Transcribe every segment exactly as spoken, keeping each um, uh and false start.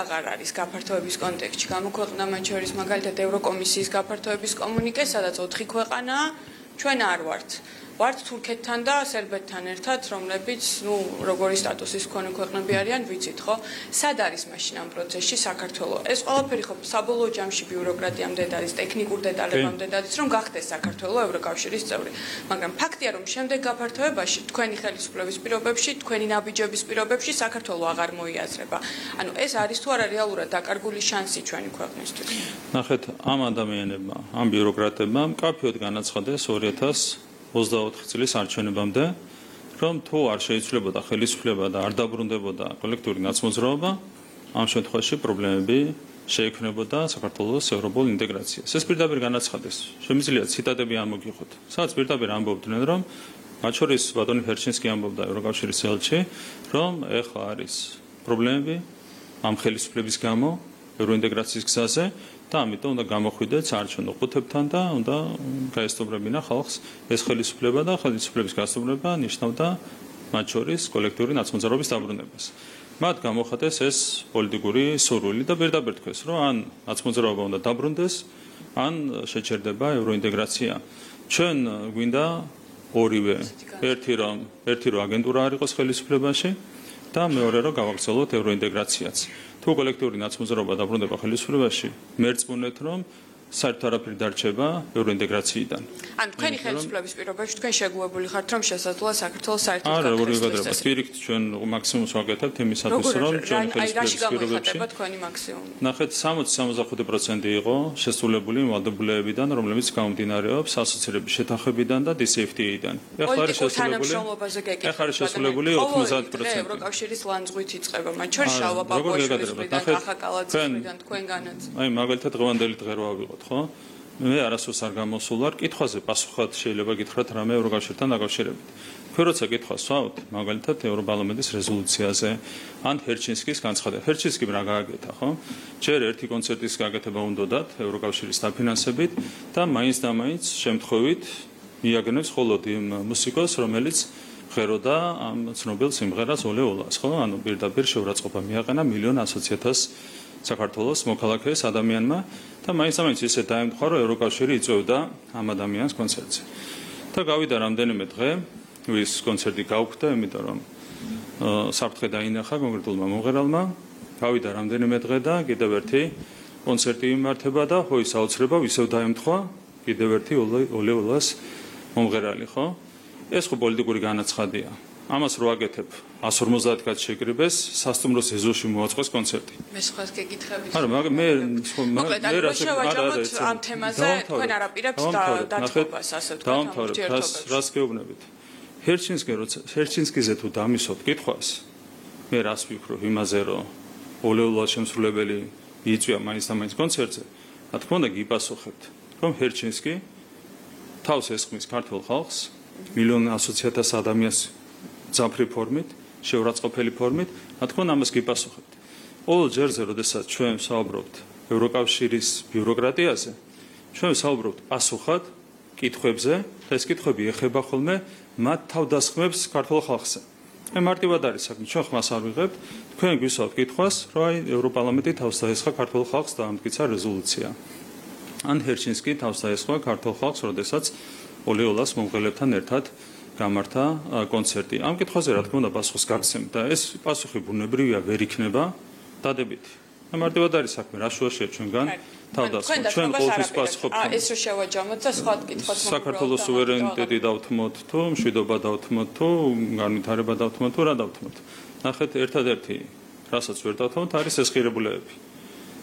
აღარ არის გაფართოების კონტექსტში გამოქვეყნდა მათ შორის მაგალითად ევროკომისიის გაფართოების კომუნიკე, სადაც ოთხი ქვეყანაა, ჩვენ არ ვართ. ვართ თურქეთთან და სერბეთთან ერთად, რომლებიც, ну, როგორი სტატუსის მქონე ქვეყნები არიან, ვიცით, ხო? სად არის მაშინ ამ პროცესში საქართველო? ეს ყველაფერი ხო საბოლოო ჯამში ბიუროკრატიამდე არის, ტექნიკურ დეტალებამდე არის, რომ გახდეს საქართველო ევროკავშირის წევრი. მაგრამ ფაქტია, რომ შემდეგ გაფართოებაში თქვენი ხელისუფლების პირობებში, თქვენი ნაბიჯების პირობებში საქართველო აღარ მოიაზრება. ანუ ეს არის თუ არა რეალურად დაკარგული შანსი ჩვენი ქვეყნისთვის? ნახეთ, ამ ადამიანებმა, ამ ბიუროკრატებმა მკაფიოდ განაცხადეს ორი ათას ოცდაოთხი წლის არჩევნებამდე, რომ თუ არ შეიცვლებოდა ხელისუფლება და არ დაბრუნდებოდა კოლექტიური ნაცმოძრაობა, ამ შემთხვევაში პრობლემები შეექმნებოდა საქართველოს ევროპულ ინტეგრაციას. ეს პირდაპირ განაცხადეს. შემიძლია ციტატები ამოგიღოთ. სადაც პირდაპირ ამბობდნენ, რომ მათ შორის ბატონი ჰერჩინსკი ამბობდა ევროკავშირის ელჩი, რომ ეხლა არის პრობლემები ამ ხელისუფლების გამო ევროინტეგრაციის გზაზე და ამიტომ უნდა გამოხვიდეთ საარჩევნო ყუთებთან და უნდა გაესწორებინა ხალხს ეს ხელისუფლება და ხელისუფლების გასწორება ნიშნავდა მათ შორის კოლექტიური ნაცმოძრაობის დაბრუნებას. მათ გამოხატეს ეს პოლიტიკური სურვილი და პირდაპირ თქვეს, რომ ან ნაცმოძრაობა უნდა დაბრუნდეს, ან შეჩერდება ევროინტეგრაცია. ჩვენ გვინდა ორივე, ერთი რომ ერთი რომ აგენტურა არ იყოს ხელისუფლებაში და მეორე რომ გავაგრძელოთ ევროინტეგრაციაც. თუ კოლექტიური ნაცმოძრაობა დაბრუნდება ხელისუფლებაში, მერწმუნეთ რომ საერთოდ არაფერი დარჩება ევროინტეგრაციიდან. ან თქვენი ხელისუფლების პირობებში თქვენ შეგუებული ხართ, რომ შესაძლოა საქართველოს საერთოდ არა, როგორ ვიგადრება, პირიქით ჩვენ მაქსიმუმს ვაკეთებთ იმისათვის, რომ ჩვენ ხელისუფლების პირობებში თქვენი მაქსიმუმი. ნახეთ, სამოცი სამოცდახუთი პროცენტი იყო შესრულებული ვალდებულებებიდან, რომლებიც გამომდინარეობს ასოცირების შეთანხმებიდან და დი სი ეფ თი ეიდან. ეხლა არის შესრულებული. ეხლა არის შესრულებული ოცდაათი პროცენტი. ევროკავშირის ლანძღვით იწყება, მათ შორის შალვა ბაბოაშვილის მხრიდან, ახა კალაძის მხრიდან, თქვენგანაც. აი, მაგალითად დღევანდელი დღერვა ვიყოთ, ხო? მე არასდროს არ გამოსულ ვარ კითხვაზე პასუხად შეიძლება გითხრათ რამე ევროკავშირთან დაკავშირებით. თქვენ როცა კითხვას ვსვავთ, მაგალითად ევროპარლამენტის რეზოლუციაზე, ან ჰერჩინსკის განცხადება. ჰერჩინსკიმ რა გააკეთა, ხო? ჯერ ერთი კონცერტის გაკეთება უნდათ ევროკავშირის დაფინანსებით და მაინც და მაინც შემთხვევით მიაგნებს მხოლოდ იმ მუსიკოს, რომელიც ღეროდა ამ ცნობილ სიმღერას ოლე ოლას, ხო? ანუ პირდაპირ შეურაცხყოფა მიაყენა მილიონ ასოცი ათას საქართველოს მოქალაქეს ადამიანმა და მაინც ამაინც ისე დაემთხვა, რომ ევროკავშირი იწვევდა ამ ადამიანს კონცერტზე. და გავიდა რამდენიმე დღე, ვის კონცერტი გაუქმდა, იმიტომ რომ საფრთხე დაინახა კონკრეტულმა მომღერალმა. გავიდა რამდენიმე დღე და კიდევ ერთი კონცერტი იმართება და ხო ის აუცილებლად ისევ დაემთხვა კიდევ ერთი ოლე ოლას მომღერალი, ხო? ეს ხო პოლიტიკური განაცხადია. ამას რო აკეთებ εκατს ორმოცდაათი კაც შეკრიბეს სასტუმროს ეზოში მოაწყოს კონცერტი. მე სხვას გეკითხებით. არა, მაგრამ მე მე რასე არა ამ თემაზე თქვენ არაპირებთ დათხოვებას, ასე ვთქვათ, ამ ურთიერთობებში. რას გეუბნებით? ჰერჩინსკი როცა ჰერჩინსკიზე თუ დამისვოთ კითხვას, მე რას ვიქრობ იმაზე, რომ ოლეულა შემსრულებელი იწვია მაინც და მაინც კონცერტზე, რა თქმა უნდა გიპასუხებთ, რომ ჰერჩინსკი თავს ესხმის ქართულ ხალხს, მილიონ ასოცი ათას ადამიანს ძაფრი ფორმით, შეურაცხყოფელი ფორმით, რა თქმა უნდა ამას გიპასუხებთ. ყოველ ჯერზე, როდესაც ჩვენ ვსაუბრობთ ევროკავშირის ბიუროკრატიაზე, ჩვენ ვსაუბრობთ პასუხად კითხვებზე, და ეს კითხვები ეხება ხოლმე მათ თავდასხმებს ქართულ ხალხზე. მე მარტივად არის საქმე, ჩვენ ხმას არ ვიღებთ, თქვენ გვისვათ კითხვას, რომ აი ევროპარლამენტი თავს დაესხა ქართულ ხალხს და ამტკიცა რეზოლუცია. ან ჰერჩინსკი თავს დაესხა ქართულ ხალხს, როდესაც ოლე ოლას მომღერლებთან ერთად გამართა კონცერტი. ამ კითხვაზე რა თქმა უნდა პასუხს გაგცემთ და ეს პასუხი ბუნებრივია ვერ იქნება დადებითი. მარტივად არის საქმე, რა შუაშია ჩვენგან თავდასხმა. ჩვენ ყოველთვის პასუხობთ. ეს რო შევაჯამოთ და სხვა კითხვაც მოგგვაქვს. საქართველოს სუვერენიტეტი დავთმოთ თუ მშვიდობა დავთმოთ თუ განვითარება დავთმოთ თუ რა დავთმოთ. ნახეთ, ერთადერთი რასაც ვერ დავთმოთ არის ეს ღირებულებები.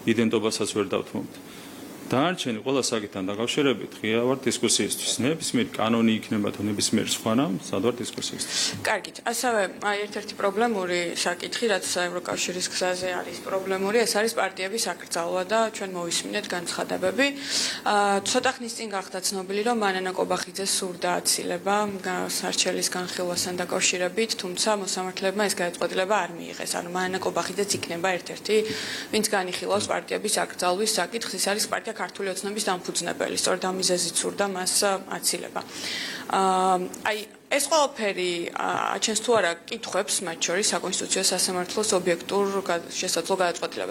იდენტობასაც ვერ დავთმოთ. დანარჩენი ყველა საკითხთან დაკავშირებით ღია ვარ დისკუსიისთვის. ნებისმიერ კანონი იქნება თუ ნებისმიერ სხვა რამ, სად ვარ დისკუსიისთვის. კარგით, ასევე ერთ-ერთი პრობლემური საკითხი, რაც ევროკავშირის გზაზე არის პრობლემური, ეს არის პარტიების აკრძალვა და ჩვენ მოვისმინეთ განცხადებები. ცოტა ხნის წინ გახდა ცნობილი, რომ მანანა კობახიძეს სურდა აცილება სარჩელის განხილვასთან დაკავშირებით, თუმცა მოსამართლეებმა ეს გადაწყვეტილება არ მიიღეს. ანუ მანანა კობახიძეც იქნება ერთ-ერთი, ვინც განიხილავს პარტიების აკრძალვის საკითხს, ის არის პარტია ქართული ოცნების დამფუძნებელი, სწორედ ამ მიზეზით სურდა მას აცილება. აი ეს ყველაფერი აჩენს თუ არა კითხვებს მათ შორის საკონსტიტუციო სასამართლოს ობიექტურ შესაძლო გადაწყვეტილებას.